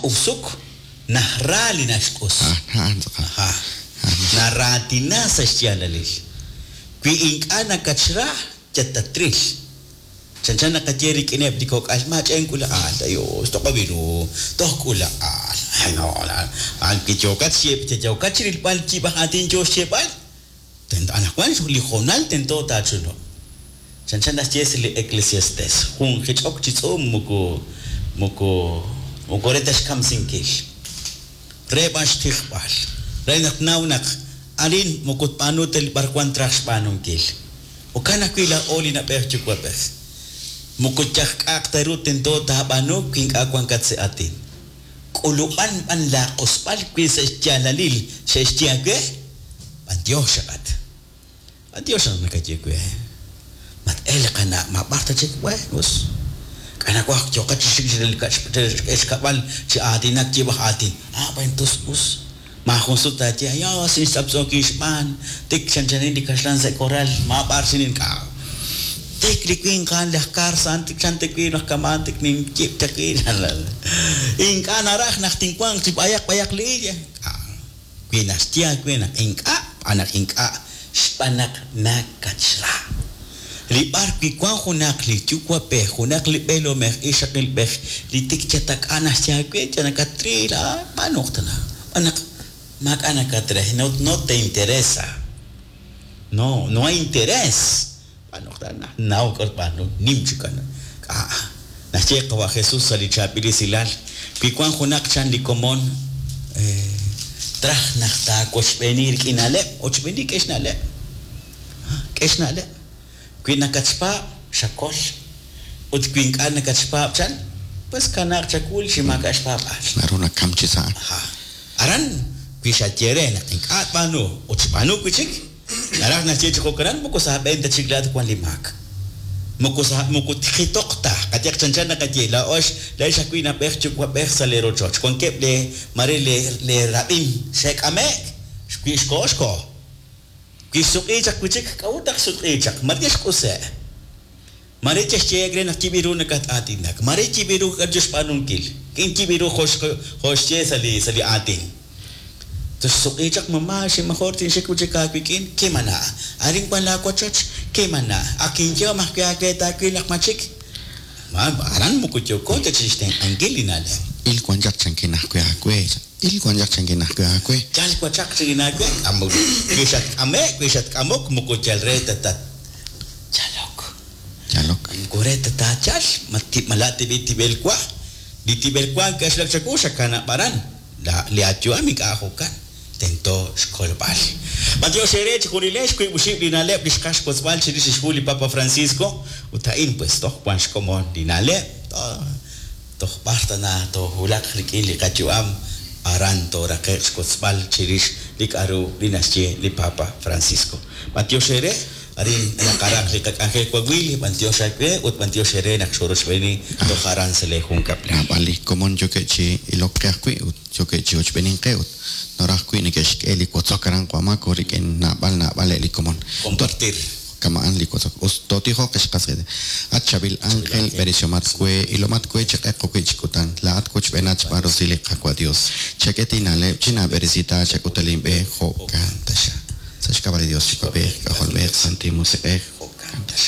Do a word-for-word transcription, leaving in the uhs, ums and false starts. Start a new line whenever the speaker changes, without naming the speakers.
Naq'usuk najra li naxq'us.
A'an tz'aqal.
Aha. Naraatina sa' xyaalalil. Wi ink'a' nakatxra, yatatril. Chanchan naqaye rik'ineb' li kok'al, maach'en k'ula'al, ayos, toq'ob' ru, toj k'ula'al. Ay, no, a'an wi yookat xye- yookat chirilb'al yib' aj aatin yoo xyeeb'al, tento anaqwan li hoonal tento taachunub'. Chanchan naxye sa' li Eclesiastes, jun jich'ok chi tz'uum moko moko moko re ta xkamsinkil. Re b'an xtijb'al. Re naq naw naq arin moko tb'aanu ta li b'arwan traj xb'aanunkil. Jo'kan ajwi' laa'o li na'b'ej yuwa'b'ej. Moko yaj k'a'aq ta ru tento taab'aanu wi ink'a' wankat sa' aatin. K'ulub'an b'an laaq'usb'al wi sa' xyaalalil xe'xye aawe, b'antiox xaqat. B'antiox naq nakaye we. Mat-elq qana' ma b'ar ta chik we, us. K'anawaj yooqat chi xik xkab'al chi aatinak yib' aj aatin. Ah, bueno, tus us. Maajun sut taaye, ayos, inxtz'aptz'ookin xb'aan. Tik chanchanin li kaxlan sa' korral, ma b'ar xinin k'a. Tik li winq a'an laj kar sa'an tik chan tewi naq kamaan tik ninyib' chawil. Ink'a' naraj naq tinwanq chi b'ayaq b'ayaq li illa. K'a. Wi naxye aawe naq ink'a', b'an naq ink'a' xb'aan naq nakatxra. Li b'ar wi wan junaq li yuwa'b'ej, junaq li b'eelomej, ixaqilb'ej, li tik chatak'a naxye aawe, chanakatril, ah, b'aanuq tana. B'an naq maak'a' nakatre, no, no te interesa. No, no hay interés. B'aanuq tana, naw k'or b'aanu, nim chikan. K'a. Naxye qawa Jesús sa' li chaab'il esilal, wi wan junaq chan li komon, eh, traj naq taawochb'eeni rik'in na'leb', ochb'eeni k'e xna'leb'. K'e xna'leb'. Wi nakatxpaab', xakol. Ut wi ink'a' nakatxpaab' chan, pues kanaaq chakul chi maak'a' xpaab'aal.
Naru nakam chi sa'.
Aha. Aran, wi xaye re naq ink'a' tb'aanu ut xb'aanu wi chik, naraj naxye chi jo'kanan moko sa' b'een ta chik laat wan li maak. Moko sa' moko tijitoq ta, qayaq chanchan naqaye, laa'ox laa'ex ajwi' na'b'ej yuwa'b'ej sa' lee rochoch. Wankeb' lee mare lee lee rab'in xe'k'ame'k, wi xko'o xko'o. Wi xsuq'i chaq wi chik, k'a'ut naq xsuq'i chaq, mare xq'use'. Mare chexyeek re naq yib' ru nakat-aatinak, mare yib' ru k'aru xb'aanunkil, k'in yib' ru jo' jo' xye sa' li sa' li aatin. Xsuq'i chaq mamá, ximajor tinxik wi chik aawik'in, kimana. Arin wan laawochoch, kimana. Ak inyehom ajwi' aawe taawil naq ma chik. Ma aran moko yooko ta chixtenq'ankil li na'leb'.
Il wan chaq chankin ajwi' aawe. Il wan chaq chankin ajwi' aawe.
Yal wachaq chi naawe, k'amok. Wi xatk'ame', wi xatk'amok, moko yal re ta tat chalok.
Yalok.
Moko re ta taachal, ma ti- mala tib'i tib'el wa. Li tib'el wa k'axlak chawu xakanab' aran. La li ayu'am ink'a' jo'kan. Tento xkolb'al. B'antiox eere chi junilex wiib' oxib' li na'leb' li xqax xwotzb'al chirix xhu li Papa Francisco. Ut a'in pues toj wan xkomon li na'leb'. Toj b'ar tana toowulaq rik'in li qayu'am aran tooraqe'q xwotzb'al chirix li k'a'ru li naxye li Papa Francisco. B'antiox eere, arin naqaraq li qak'anjel wawil, b'antiox aawe ut b'antiox eere naq xorochb'eeni toj aran sa' lee junkab'lal.
Naab'al li komon yookeb' chi ilok qe ajwi' ut yookeb' chi ochb'eenink qe ut noraj ajwi' neke'xk'e li wotzok aran Wamako rik'in naab'al naab'al li komon.
Compartir.
Kamaan li wotzok. Us totijoq xqasqe. At chabil ángel beresiomat kwe ilomat kwe chiq'eq wi' chikutan. Laat wochb'eenat xb'aan rosil li Qaawa' Dios. Chak'e tina'leb' chinab'eresita chak'utalinb'e jo'kan taxa. Sa' xk'ab'a' li Dios Yuwa'b'ej, K'ajolb'ej, Santil Musiq'ej.
Jo'kan taxa.